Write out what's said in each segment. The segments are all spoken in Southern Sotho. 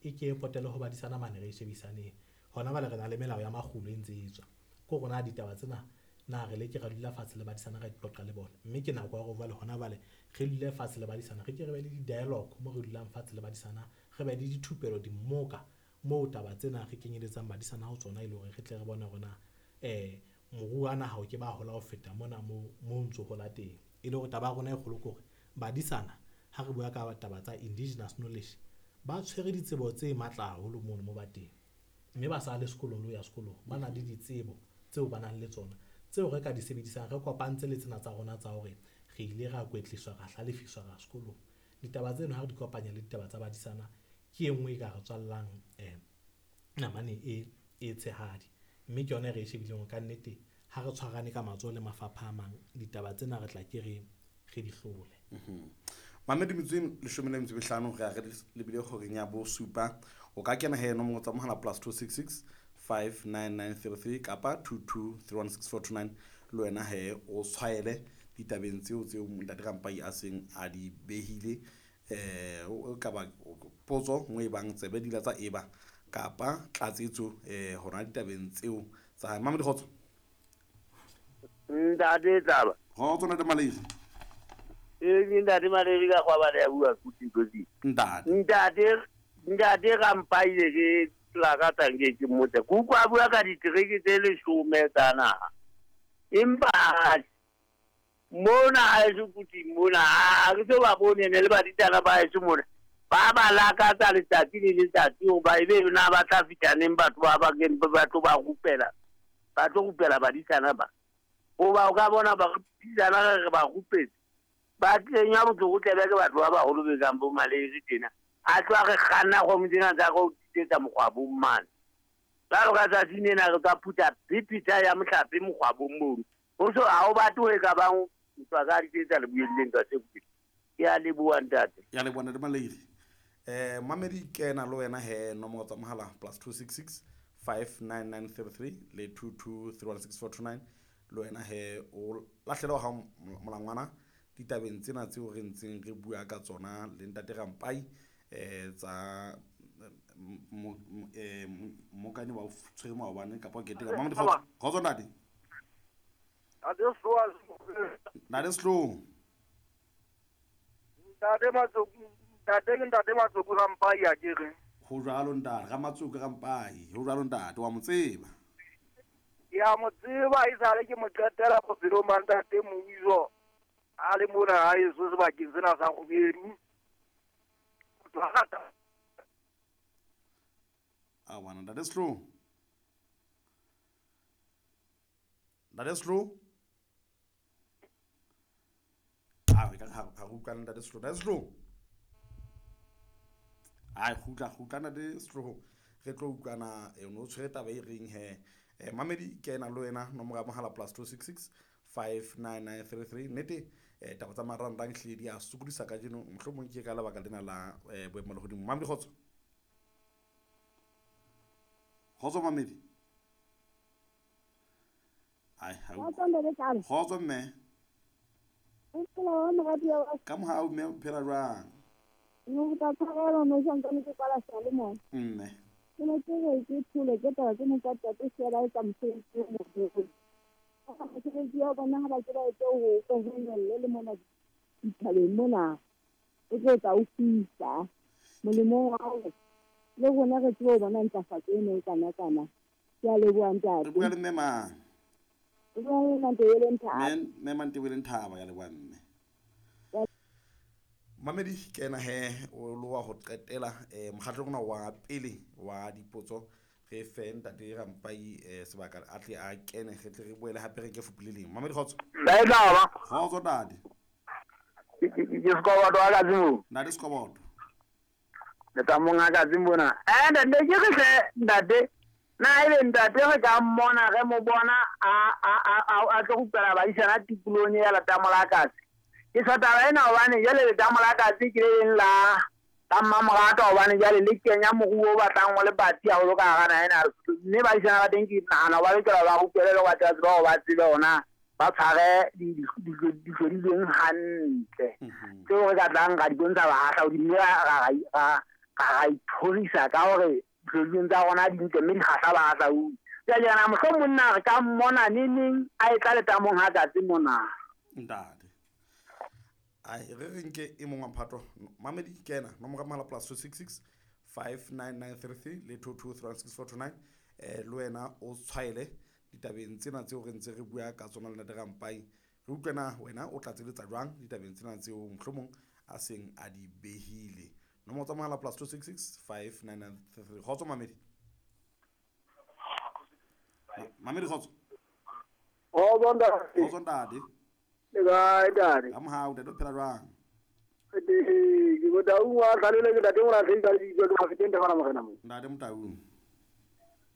e ke e potele ho badisana mane re e shebisaneng. Hona jwale re na le melao ya makgulo e ntse e tswa. Ke hore na ditaba tsena na re leke ra dula fatshe le badisana ra di qoqa le bona. Mme ke nako ya hore jwale hona jwale re dule fatshe le badisana, re ke re be le di-dialogue moo re dulang fatshe le badisana, re be le dithupelo, dimmoka moo taba tsena re kenyeletsang badisana ho tsona e le hore re tle re bone hore na moruo wa naha o ke ba hola ho feta mona mo o ntso hola teng. E le hore taba ya rona e kgolo ke hore badisana ha re bua ka taba tsa indigenous knowledge ba tshwere ditsebo tse matla haholo mono mo ba teng. Mme ba sa le sekolong le ho ya sekolong, ba na le ditsebo tseo ba nang le tsona tseo re ka di sebedisang re kopantse le tsena tsa rona tsa hore re ile ra kwetliswa, ra hlalefiswa, ra sekolong. Ditaba tseno ha re di kopanya le ditaba tsa badisana ke e nngwe e ka re tswallang namane e tshehadi. Mme ke yona e re e shebileng hore kannete ha re tshwarane ka matsoho le mafapha a mang, ditaba tsena re tla ke re re di hlole. Mamedi metsotso e leshome le metso e mehlano re ya re lebile kgoreng ya bosupa. O ka kena he nomoro tsa mohala plus 266 59933 kapa 22316429 le wena he o tshwaele ditabeng tseo tseo ntate Rampai a seng a di behile. O ka ba potso nngwe e bang tsebe dila tsa eba kapa tlatsetso hona ditabeng tseo tsa hae. Mamedi kgotso. Ntate Taba. Kgotso ntate Maledi. Ee, ke ntate Maledi ka kgwabane ya bua kuti kotsi. Ntate. Ntate Rampai ke lakatsa nke ke mmotse. Ke utlwa a bua ka ditereke tse leshome tsa naha. Empa mona haeso Kuting mona, ha ke so ba bone ne le baditana ba haeso mona. Ba ba lakatsa letsatsi le letsatsi hoba ebe na ba tla fihla neng batho ba ba keng ba tlo ba rupela. Ba tlo rupela badisana ba. Hoba o ka bona ba badisana re ba rupetse. Ba kenya botlokotsebe ke batho ba baholo be kang bo Maledi tjena. A tloha re kganna kgomo tsena tsa go tsetsa mokgwabong mane. Jwalo ka tsatsing lena re tla phutha phiphitlha ya mohlape mokgwabong mono. Ho so ha o batle ho e ka bang ntwa ka ditsetsa le buelleng ka se kutlwe. Ke a leboha ntate. Ya leboha ntate Maledi. Mamedi kena le wena he nomoro tsa mohala plus 266 59933 le 22316429 le wena he o lahlele wa hao molangwana ditabeng tsena tseo re ntseng re bua ka tsona le ntate Rampai tsa mokane wa tshwere maobane kapa o keteka. Mamedi kgotso. Kgotso ntate. Ntate Sehloho. Ntate Matsoku, ntate ke ntate Matsoku Rampai a ke re. Ho jwalo ntate, Ramatsoku Rampai, ho jwalo ntate, wa mo tseba. Ke a mo tseba esale ke mo qetela bophelong ba ntate Moiso a le mona haeso sebakeng sena sa Kgubedu. Motho a rata. A bona ntate Sehloho. Ntate Sehloho. A re ka ha re utlwane ntate Sehloho. Ntate Sehloho. Ai kgutla kgutla ntate Sehloho. Re tlo utlwana no tshwere taba e reng he. Mamedi kena le wena nomoro ya mohala plus 266 59933 nnete taba tsa marangrang hlile di a sokodisa kajeno mohlomong ke ka lebaka lena la boemo lehodimo. Mamedi kgotso. Kgotso Mamedi. Ai ha kgotso mme. Ka mohau mme o phela jwang? Mme. Ke ne ke re ke thole ke taba tsena tsa ntate Sela e tsa mosebetsi o moholo. Mosebetsi wa bona ha ba ke ba etse ho kohonolle le mona dithabeng mona. O tlo tla o fisa molemong wa hore le rona re tsebe ho bona ntlafatso eno e kana-kana. Ke a leboha ntate. Re bua le mme mang? Re bua le Mantebeleng Thaba. Mme Mantebeleng Thaba, ya leboha mme. Mamedi kena he o lo wa ho qetela mokgatlo ona wa pele wa dipotso re fe ntate Rampai sebaka a tle a kene re tle re boele hape re ke fupu le leng. Mamedi kgotso. Ntate Kgotso ntate. Ke Sekoboto wa Katsimo. Ntate Sekoboto. Le tsa monga Katsimo na. Ntate ke re hle ntate na ebe ntate re ka mmona re mo bona a tlo rupela badisana tikolohong ya Letamo la Katse. Ke sa taba ena hobane jwale Letamo la Katse ke le leng la mmamoratwa hobane jwale le kenya moruo o batlang o le patsi haholo ka hara naha ena. Mme badisana ba teng ke nahana ba lokela ba rupele le ho batla tseba hore ba tsebe hore ba tshware dihlodilweng hantle. Tseo re ka tlang ra di bontsha bahahlaudi mme ra Ra ithorisa ka hore dihlodilweng tsa rona di ntle mme di kgahla bahahlaudi. Jwale ke nahana mohlomong na re ka mmona neneng a e tla letamong ha katse mona. Ntate. Ai re re nke e mong wa mphato. Mamedi kena nomoro ya mohala plus 266 59933 le 22316429 le wena o tshwaele ditabeng tsena tseo re ntse re bua ka tsona le Ntate Rampai. Re utlwe na wena o tlatseletsa jwang ditabeng tsena tseo mohlomong a seng a di behile. Nomoro tsa mohala plus 266 59933. Kgotso Mamedi. Mamedi kgotso. Kgotso ntate. Kgotso ntate. Le kae ntate? Ka mohau ntate, o phela jwang? Ke Motaung wa Tlalele, ke ntate Molahlehdi ka lebitso, ke Mafeteng Tefana Morena mo. Ntate Motaung.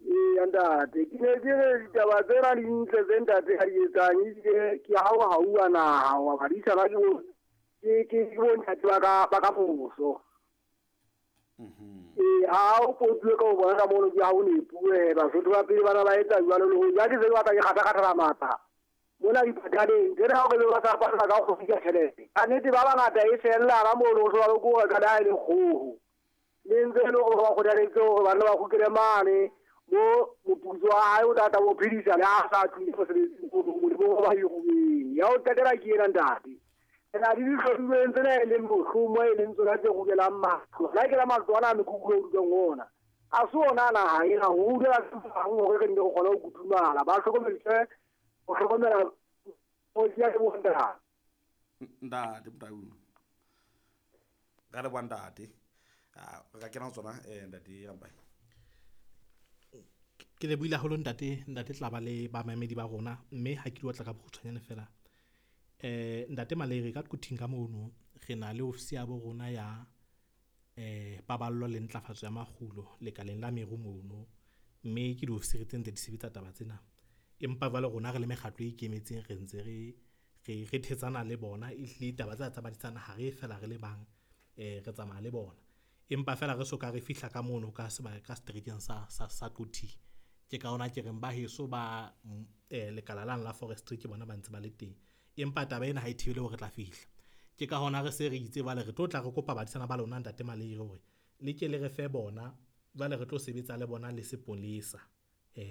Ee ntate, ke ne ke re ditaba tsena di ntle tse ntate a di etsang, ebile ke ha o hauwa naha wa badisana ke bontate ba ka moso. Ee, ha o potuwe ka ho bona ka mono ke ha o nepuwe, Basotho ba pele bana ba etsa jwalo le ho ja ke se ke batla ke kgatha-kgathala matla. Mona dipataleng, tsena ha o re ba sa patala ka go fika tjhelete. Ka nnete ba bangata e fella ka mono ho jwalo ke hore ka le ha e le kgoho. Le ntse e le hore ba kgothaletse hore banna ba kgutlele mane mo moputso wa hae o tla tla mo phedisa le ha sa tlile mosebetsing molemong wa ba hiruweng. Ya ho qetela ke ena ntate. Re na le dihlodilweng tsena e leng mohlomong e leng tsona tse rukelang matlo. Le ha ke la matlo ana a mekhukhu e rutwang ona. A se ona naha ena ho rutela bang hore re nne re kgone ho kutumala. Ba hlokomediswe ho hlokomela ya ke bontate. Ntate Motaung. Ka leboha ntate. Re ka kena ho tsona ntate Rampai. Ke lebohile haholo ntate, ntate Tlaba le bamamedi ba rona, mme ha ke di otla ka bokgutshwanyane fela. Ntate Malere ka Quthing ka mono re na le ofisi ya bo rona ya paballo le ntlafatso ya makgulo lekaleng la meru mono, mme ke diofisiri tse ntse di sebetsa taba tsena. Empa jwale rona re le mekgatlo e ikemetseng re ntse re thetsana le bona, ehlile taba tsena tsa badisana ha re fela re le bang, re tsamaya le bona. Empa fela re soka re fihla ka mono ka sebaka ka seterekeng sa Quthing. Ke ka hona ke reng ba heso ba lekala lane la forestry ke bona ba ntse ba le teng. Empa taba ena ha e thibele hore re tla fihla. Ke ka hona re se re itse jwale re tlo tla re kopa badisana ba lona ntate Malere hore le ke le re fe bona, jwale re tlo sebetsa le bona le sepolesa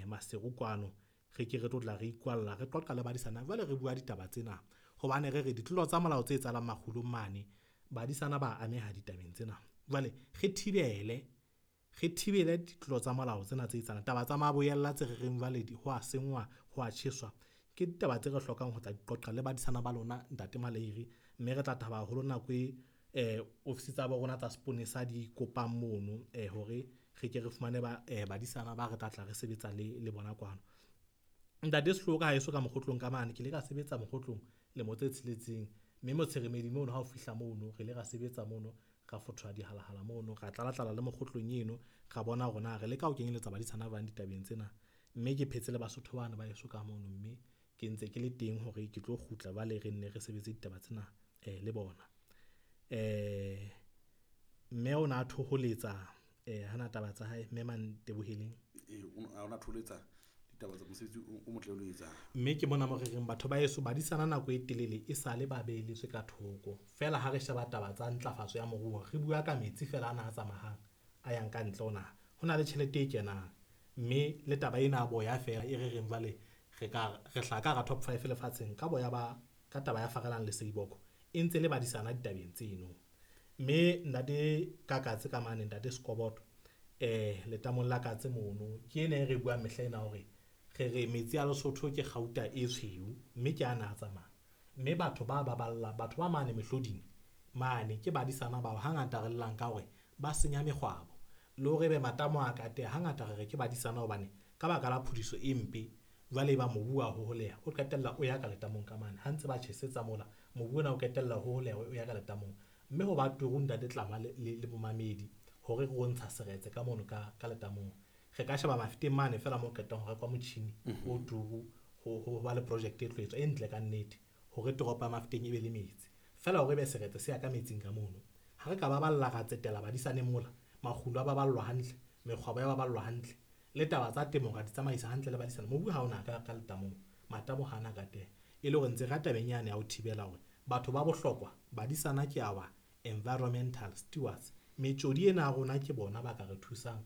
Maseru kwano. Re ke re tlo tla re ikwalla re qoqa le badisana jwale re bua ditaba tsena hobane re re ditlolo tsa molao tse etsahalang makgulong mane badisana ba ameha ditabeng tsena. Jwale re thibele ditlolo tsa molao tsena tse etsahalang. Taba tsa maboyella tse re reng jwale ho a senngwa, ho a tjheswa, ke ditaba tse re hlokang ho tla di qoqa le badisana ba lona ntate Malere, mme re tla thaba haholo nako e ofisi tsa bo rona tsa seponesa di kopang mono hore re ke re fumane ba badisana ba re tla tla re sebetsa le bona kwano. Ntate Sehloka ha eso ka mokgotlong ka mane, ke ile ka sebetsa mokgotlong lemo tse 6, mme Motshweremedi mono ha o fihla mono re ile ra sebetsa mono, ra fothola dihalahala mono, ra tlala-tlala le mokgotlong eno, ra bona hore na re leka ho kenyeletsa badisana ba bang ditabeng tsena. Mme ke phetse le Basotho bana ba eso ka mono, mme ke ntse ke le teng hore ke tlo kgutla jwale re nne re sebetse ditaba tsena le bona. Mme o na thoholetsa hana taba tsa hae, mme Manteboheleng. O na thoholetsa ditaba tsa mosebetsi o motle o lo etsang. Mme ke mona mo re reng batho ba heso badisana nako e telele e sale ba beheletswe ka thoko. Feela ha re sheba taba tsa ntlafatso ya moruo, re bua ka metsi feela ana a tsamayang a yang ka ntle ho naha. Ho na le tjhelete e kenang, mme le taba ena ya boya feela e re reng jwale re hlaha ka hara top 5 lefatsheng ka boya ba ka taba ya Farelang le Seiboko e ntse le badisana ditabeng tseno. Mme ntate Kakatse ka mane, ntate Sekoboto letamong la Katse mono ke ena e re buang mehla ena hore re re metsi a Lesotho ke kgauta e tshweu, mme ke ana a tsamaya. Mme batho ba baballa, batho ba mane mehloding mane ke badisana bao hangata re llang ka hore ba senya mekgwabo le hore ebe matamo a ka teha. Hangata re re ke badisana hobane ka baka la phudiso e mpe jwale e ba mobu wa hoholeha, o qetella o ya ka letamong ka mane. Ha ntse ba tjhesetsa mola, mobu ona o qetella hoholeha o ya ka letamong. Mme ho ba turu ntate Tlama le bomamedi hore re o ntsha seretse ka mono ka letamong. Re ka sheba Mafeteng mane fela mo qetang ho rekwa motjhini o turu ho ba le project e tlo etswa e ntle ka nnete hore toropo ya Mafeteng e be le metsi. Fela hore ebe seretse se ya ka metsing ka mono. Ha re ka baballa ra tsetela badisane mola, makgulo a baballwa hantle, mekgwabo ya baballwa hantle, le taba tsa temo ra di tsamaisa hantle le badisana. Mobu ha ona ka letamong, matamo ha ana ka teng. E le hore ntse ra tabeng yane ya ho thibela hore batho ba bohlokwa badisana ke our environmental stewards, Metjodi ena ya rona ke bona ba ka re thusang.